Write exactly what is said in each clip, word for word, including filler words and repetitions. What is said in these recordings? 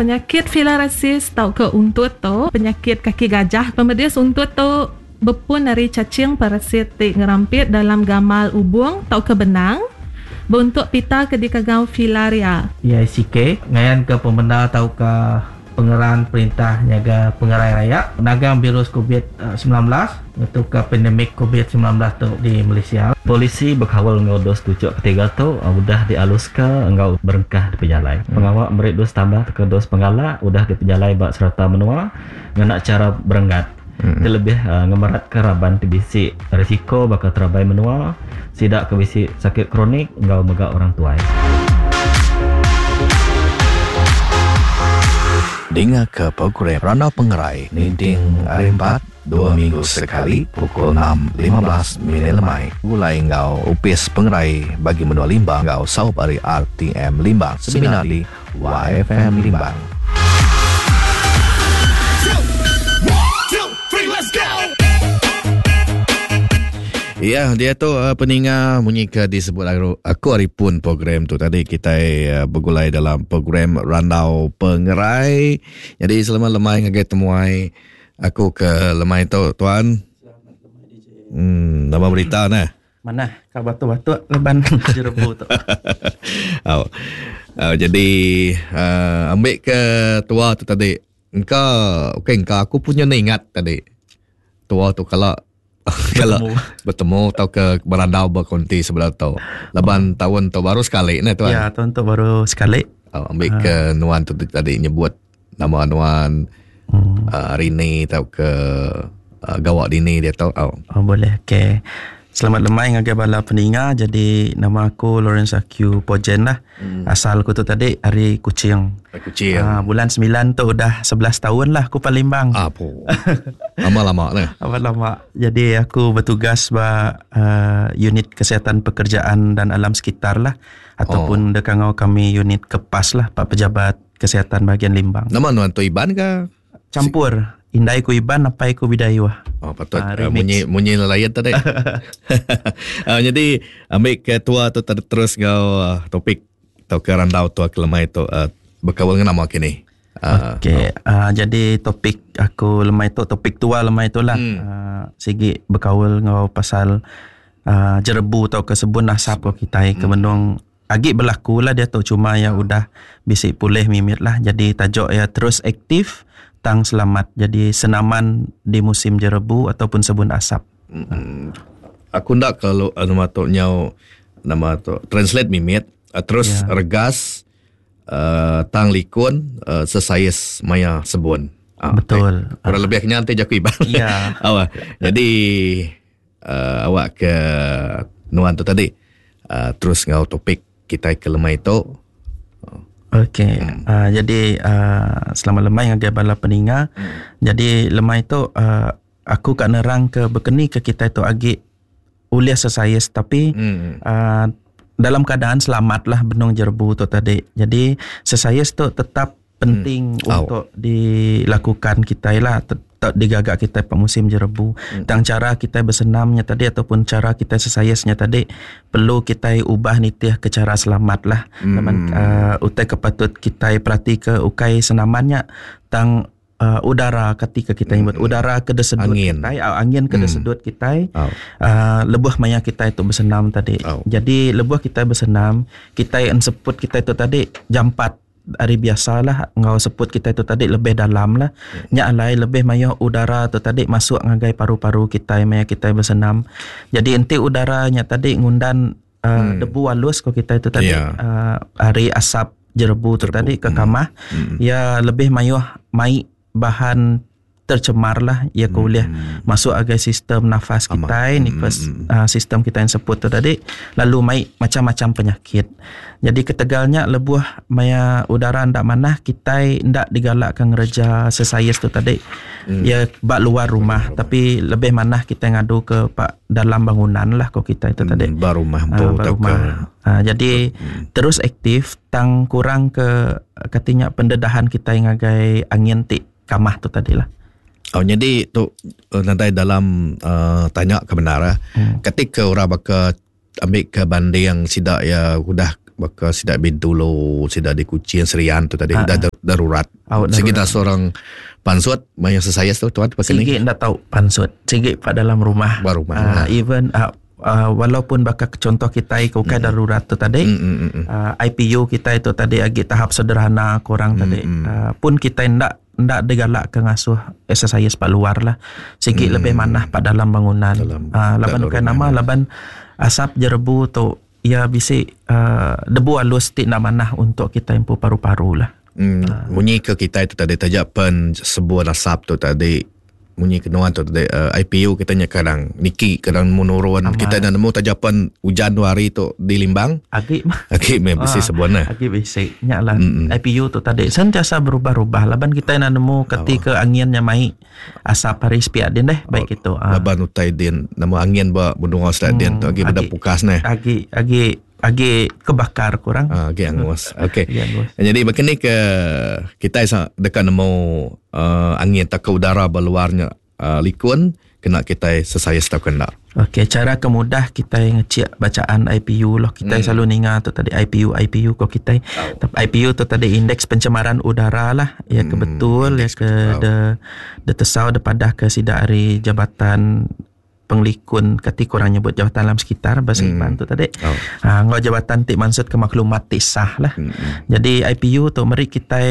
Penyakit filariasis tau ke untut tu, penyakit kaki gajah. Pemedis untut tu bepun ari cacing parasit ti ngerampit dalam gamal ubung tau ke benang bentuk pita ke dikagau filaria. P I C K ngayan ke pemenda tau ke pengeran perintah nyaga pengerai raya nagang virus covid sembilan belas itu ke pandemik covid sembilan belas tu di Malaysia. Polisi berkawal ngau dos tujuh ketiga tu udah dialuska ngau berengkah di pejalai. Hmm. Pengawal merik dos tambah ke dos penggalak udah di pejalai bak serata menua ngena cara berenggat. Hmm. Terlebih uh, ngemerat ke raban T B C risiko bakal terabai menua sidak ke bisi sakit kronik ngau mega orang tuai. Dengar ke program Randau Pengerai Ninding hari empat dua minggu sekali pukul enam lima belas minit lemai. Gulai ngau Upis Pengerai bagi menua Limbang ngau Saup ari R T M Limbang seminar di Y F M Limbang. Ya, dia tu uh, peninga munyi ke disebut aku, aku hari pun program tu tadi kita uh, bergulai dalam program Randau Pengerai. Jadi selama lemai ngagai temuai aku ke lemai tu tuan. Selamat lemai D J. Hmm, nama berita nah. Mana kau batu-batu leban jerebu tu. Oh. Uh, jadi uh, ambil ke tua tu tadi. Engkau okey engkau aku punya ni ingat tadi. Tua tu kalau kalau bertemu atau ke berandau berkonti sebelah tu. Laban tahun tu baru sekali ni tuan. Ya, tahun tu baru sekali. Oh, ambil ha. Ke nuan tu tadi nyebut nama nuan hmm. uh, Rini atau ke uh, gawak dini dia tahu. Oh. Oh boleh. Okey. Selamat lemai ngagai bala peninga. Jadi nama aku Lawrence Q Pojen lah. Hmm. Asal aku tu tadi hari Kuching. Hari Kuching. Ha, bulan sembilan tu udah sebelas tahun lah aku Palembang. Apa? Lama-lama lah. Lama-lama. Jadi aku bertugas ba uh, unit kesihatan pekerjaan dan alam sekitar lah. Ataupun oh. dekangau kami unit kepas lah, Pak Pejabat Kesihatan bahagian Limbang. Nama nuan tu Iban ke? Campur. Indai ku Iban, apa ku Bidayuh. Oh, patut uh, munyi munyi lelayan tadi. uh, jadi ambil ke tua tu ter- terus ngau uh, topik atau ke randau tua ke lemai tu uh, berkawal dengan nama kini. Uh, Okey, oh. uh, jadi topik aku lemai tu topik tua lemai tu lah. Hmm. Uh, sigi berkawal ngau pasal uh, jerebu atau ke sebun asap ko kita hmm. ke mendung agi berlaku lah dia tu cuma ya udah bisik pulih mimit lah. Jadi tajuk ya terus aktif tang selamat. Jadi senaman di musim jerebu ataupun sebun asap. Hmm. Aku ndak kalau nama tu nyau nama tu translate mimit terus ya. Regas uh, tang likun uh, sesais maya sebun. Ah, betul. Eh, kurang lebih kenyang nanti jaku iban. Ya. Awak. Jadi uh, awak ke nuan tu tadi uh, terus ngau topik kita ke lemai tu. Okey, hmm. uh, jadi uh, selamat lemai ngagai bala peninga. Hmm. Jadi lemai tu uh, aku kat nerang ke berkeni ke kita tu agi uliah sesais tapi hmm. uh, dalam keadaan selamat lah benung jerebu tu tadi. Jadi sesais tu tetap penting hmm. untuk oh. dilakukan kita lah tetap digagak kita pada musim jerebu. Hmm. Tang cara kita bersenamnya tadi ataupun cara kita sesayasnya tadi perlu kita ubah nitih ke cara selamat lah. Hmm. Teman uh, utai kepatut kita perhati ke ukai senamannya tang uh, udara ketika kita nyebut hmm. udara ke desedut angin. Kita angin ke desedut hmm. kita oh. uh, lebuh maya kita itu bersenam tadi. Oh. Jadi lebuh kita bersenam, kita enseput kita itu tadi jampat hari biasalah ngau seput kita itu tadi lebih dalam lah. Hmm. Nyak alai lebih maya udara tu tadi masuk ngagai paru-paru kita maya kita bersenam. Jadi enti udaranya tadi ngundan uh, hmm. debu halus ko kita itu tadi yeah. uh, hari asap jerebu tu jerebu. Tadi ke kamah. Hmm. Ya lebih mayuh mai bahan tercemar lah ya hmm. boleh masuk agai sistem nafas kita ni hmm. uh, sistem kita yang seput tu tadi lalu mai macam-macam penyakit. Jadi ketegalnya lebuh maya udara ndak manah kita ndak digalakkan ngereja sesais tu tadi. Hmm. Ya bak luar rumah, rumah tapi lebih manah kita ngadu ke pak dalam bangunan lah ko kita itu hmm, tadi. Bar rumah uh, bar rumah. Uh, jadi hmm. terus aktif tang kurang ke katanya pendedahan kita ngagai angin ti kamah tu tadilah. Oh, jadi tu nanti dalam uh, tanya kebenaran hmm. Ketika orang bakal ambil ke banding sidak ya udah baka sidak Bintulu, sidak di Kuching, Serian tu tadi dah darurat. Sigi dah seorang pansut maya sesayas tu tuan pasal ni. Sigi ndak tahu pansut. Sigi pak dalam rumah. Ba rumah. Uh, even uh, uh, walaupun bakal contoh kita ke ukai mm. darurat tu tadi, mm, mm, mm. Uh, I P U kita itu tadi agi tahap sederhana kurang mm, tadi. Mm. Uh, pun kita ndak ndak digalak ke ngasuh exercise pak luar lah. Sigi mm. lebih manah pak dalam bangunan. Dalam, uh, laban bukan nama laban asap jerebu tu ya bisi uh, debu halus ti nak manah untuk kita impu paru-paru lah. Hmm, bunyi ke kita itu tadi tajak pen sebuah asap tu tadi bunyi kenuan tu tadi uh, I P U kita nya kadang niki kadang menurun. Aman. Kita dah nemu tajapan hujan dua hari tu di Limbang agi mah agi meh bisi ah, sebuah nah agi bisi nya lah. Mm-mm. I P U tu tadi sentiasa berubah-ubah laban kita nak nemu ketika oh. anginnya mai asap hari sepiak din deh baik oh. itu ah. Laban utai din nama angin ba benua selat din tu agi beda pukas nah agi agi agi kebakar kurang. Ah, agi angus. Okey. Angus. Jadi begini ke kita dekat nemu uh, angin tak ke udara berluarnya uh, likun kena kita sesaya setau kena. Okey, cara kemudah kita ngecek bacaan I P U loh. Kita hmm. selalu ninga tu tadi I P U I P U kok kita. Oh. Tapi I P U tu tadi indeks pencemaran udara lah. Ya ke hmm. betul ya ke oh. de de tesau de padah ke sidak hari jabatan penglikun kati kurang nyebut jabatan alam sekitar bahasa hmm. Iban tu tadi. Oh. Ha, ngau jabatan ti maksud ke maklumat ti sah lah. Hmm. Jadi I P U tu meri kita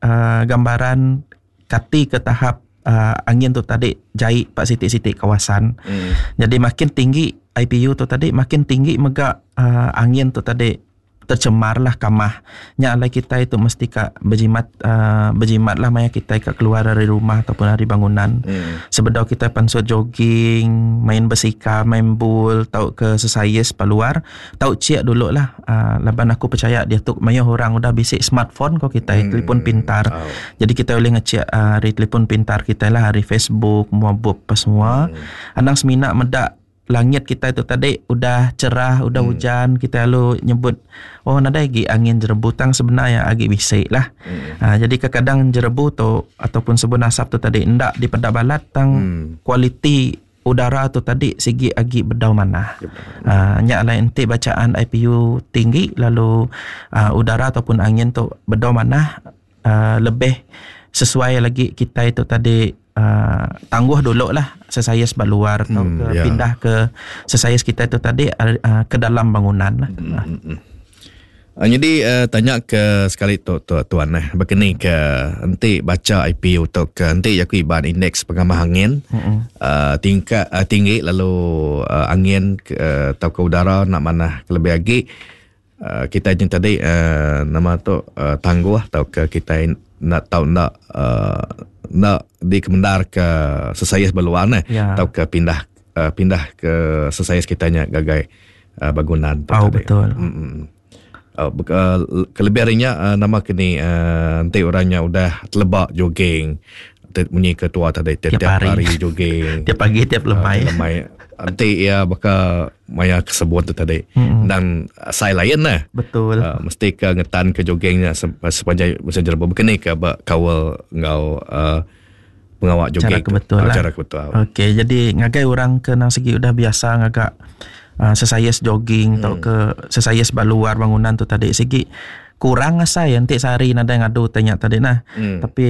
uh, gambaran kati ke tahap uh, angin tu tadi jai pak sitik-sitik kawasan. Hmm. Jadi makin tinggi I P U tu tadi makin tinggi mega uh, angin tu tadi tercemar lah kamah. Nya alai kita itu mesti ka berjimat uh, berjimat lah maya kita ka keluar dari rumah ataupun dari bangunan. Hmm. Sebedau kita pansut jogging, main bersika, main bul, tau ke sesayes paluar, tau ciak dulu lah. Uh, laban aku percaya dia tu maya orang udah bisik smartphone kok kita, Hmm. telefon pintar. Oh. Jadi kita boleh ngecek uh, hari telefon pintar kita lah, hari Facebook, muabub apa semua. Hmm. Anang semina medak langit kita itu tadi udah cerah, udah hmm. hujan, kita lalu nyebut oh nadai agi angin jerebu tang sebenarnya agi bisik lah. Hmm. Ha, jadi kadang jerebu tu ataupun sebun asap tu tadi ndak di pedak balat tang hmm. kualiti udara tu tadi sigi agi bedau mana. Ha, nyak lain enti bacaan I P U tinggi lalu uh, udara ataupun angin tu bedau mana uh, lebih sesuai lagi kita itu tadi Uh, tangguh dulu lah sesayas luar atau hmm, ke, yeah. pindah ke sesayas kita itu tadi uh, ke dalam bangunan lah. Hmm, hmm, hmm. Uh, jadi uh, tanya ke sekali tu, tu tuan eh begini ke enti baca I P U tu ke enti aku iban indeks pengamah angin hmm. uh, tingkat uh, tinggi lalu uh, angin uh, atau ke udara nak mana lebih lagi uh, kita yang tadi uh, nama tu uh, tangguh atau ke kita nak tahu nak uh, nak dikemendar ke sesayas berluar nah ya. atau ke pindah uh, pindah ke sesayas kitanya gagai uh, bangunan tu oh, tadi. Betul. Mm-mm. Uh, uh, kelebihannya uh, nama kini uh, nanti orangnya udah telebak jogging bunyi ketua tadi tiap, tiap tiap hari. hari jogging tiap pagi tiap lemai uh, lemai nanti ya bakal maya kesebut tu tadi mm-hmm. dan saya lain lah betul uh, mesti ke ngetan ke joggingnya sepanjang masa jerbu begini ke kawal ngau uh, pengawak jogging cara kebetul uh, lah. Cara kebetul. Okey, jadi ngagai orang ke nang segi udah biasa ngagak uh, sesayas jogging hmm. atau ke sesayas baluar bangunan tu tadi segi kurang asai nanti sehari nada ngadu tanya tadi nah hmm. Tapi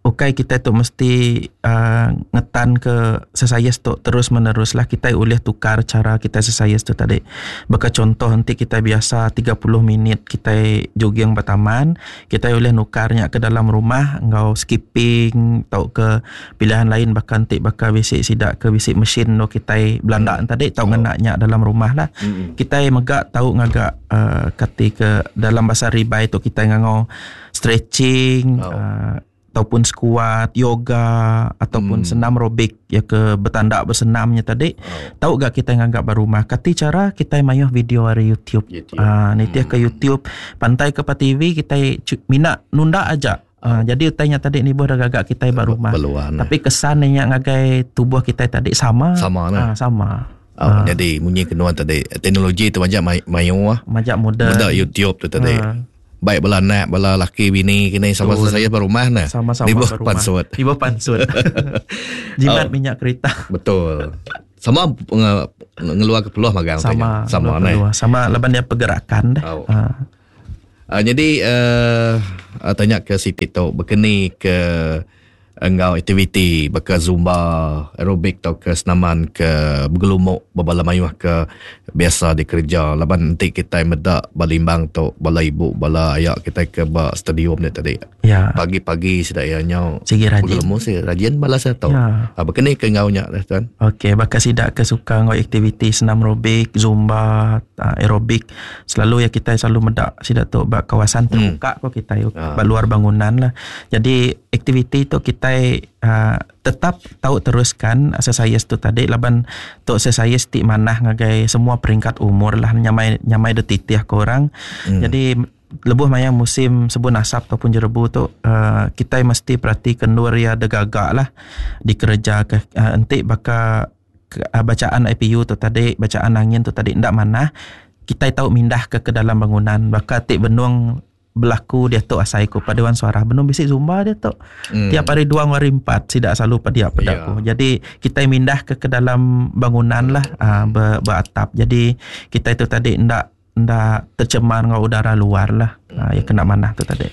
ukai kita tu mesti uh, ngetan ke sesayas tu terus menerus lah. Kita boleh tukar cara kita sesayas tu tadi. Baka contoh nanti kita biasa tiga puluh minit kita jogging bertaman, kita boleh nukarnya ke dalam rumah ngau skipping atau ke pilihan lain bahkan nanti bakal bisik sidak ke bisik mesin no kita belanda hmm. tadi tau Oh. ngenaknya dalam rumah lah. Hmm. Kita megak tau ngagak uh, kati ke dalam bahasa ribai tu kita ngangau stretching Oh. uh, ataupun squat, yoga ataupun Hmm. senam aerobik ya ke bertandak bersenamnya tadi. Oh. Tahu gak kita nganggap berumah? Kati cara kita mayuh video hari YouTube. YouTube. Ah, nitih Hmm. ke YouTube, pantai ke pa T V kita cu- minat nunda aja. Ah, jadi utainya tadi ni boh dah gagak kita berumah. Berluan. Tapi kesan yang ngagai tubuh kita tadi sama. Sama lah. Ah, sama. Oh, jadi bunyi kenuan tadi teknologi tu banyak may- mayu ah. Majak muda. Benda YouTube tu tadi. Ah. Baik bala anak, bala laki bini kini sama Betul. saya berumah nah. Sama-sama Di bawah berumah. pansut. Di bawah pansut. Jimat Oh. minyak kereta. Betul. Sama nge, ngeluar ke peluh magang sama sama ne. Sama laban dia pergerakan deh. Oh. Uh. Uh, jadi uh, uh, tanya ke Siti tu berkeni ke enggau aktiviti baka zumba, aerobik atau ke senaman ke bergelumuk berbala mayuh ke biasa dikerja laban nanti kita medak balimbang tu bala ibu bala ayak kita ke ba stadium ni tadi. Ya. Pagi-pagi sudah ya nyau sigi rajin. Bergelumuk si rajin bala saya tu. Ya. Ha, berkeni ke enggau nya dah tuan. Okey, baka sidak ke suka enggau aktiviti senam aerobik, zumba, aerobik. Selalu ya kita selalu medak sidak tu ba kawasan terbuka hmm. ko kita Ha. ba luar bangunan lah. Jadi aktiviti tu kita uh, tetap tahu teruskan exercise tu tadi laban tu exercise ti manah ngagai semua peringkat umur lah nyamai nyamai detitih ke orang. Hmm. Jadi lebuh maya musim sebun asap ataupun jerebu tu uh, kita mesti perhati kendur ya degagak lah dikerja ke uh, entik baka uh, bacaan I P U tu tadi bacaan angin tu tadi ndak manah kita tahu mindah ke ke dalam bangunan baka tik benung berlaku dia tu asai ku paduan suara benung bisik zumba dia tu Hmm. tiap hari dua hari empat tidak selalu pada pedaku Ya. jadi kita mindah ke ke dalam bangunan lah uh, ber, beratap jadi kita itu tadi ndak ndak tercemar dengan udara luar lah uh, ya kena manah tu tadi.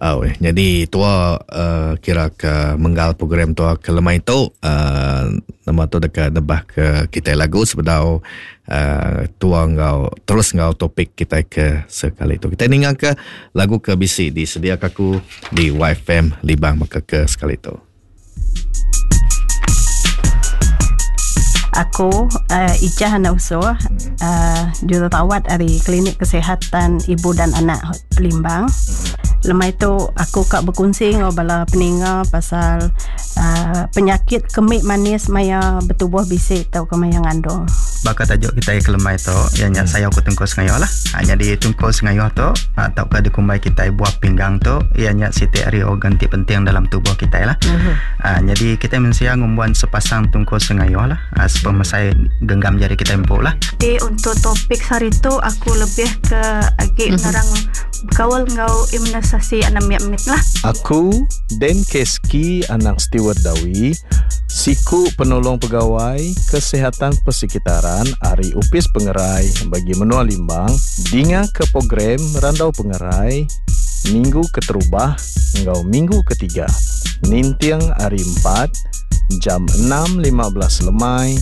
Oh, eh. Jadi tua uh, kira ke menggal program tua ke lemai tu uh, nama tu dekat debah ke kita lagu sebedau uh, tua ngau terus ngau topik kita ke sekali tu. Kita ningang ke lagu ke B C disediakan aku di Y F M Libang maka ke sekali tu. Aku uh, Ijah anak usuh uh, jururawat dari Klinik Kesihatan Ibu dan Anak Limbang. Lemai tu aku kak berkongsi dengan bala peninga pasal uh, penyakit kemik manis maya bertubuh bisik atau ke maya ngandung. Bakal tajuk kita ke lemai tu ianya hmm. saya aku tungkul sengayo lah. Ha, jadi tungkul sengayo tu atau ke dikumbai kita buah pinggang tu ianya siti ari organ ti penting dalam tubuh kita lah. Mhm. Ha, jadi kita mensia ngumbuan sepasang tungkul sengayo lah. Ha, sepemesai genggam jari kita empuk lah. Jadi untuk topik hari tu aku lebih ke agi Mhm. nerang kawal ngau imunisasi anak mit lah. Aku Den Keski anak Stewart Dawi, siku penolong pegawai kesihatan persekitaran Ari Upis Pengerai bagi Menua Limbang, dinga ke program Randau Pengerai minggu keterubah ngau minggu ketiga. Nintiang hari empat jam enam lima belas lemai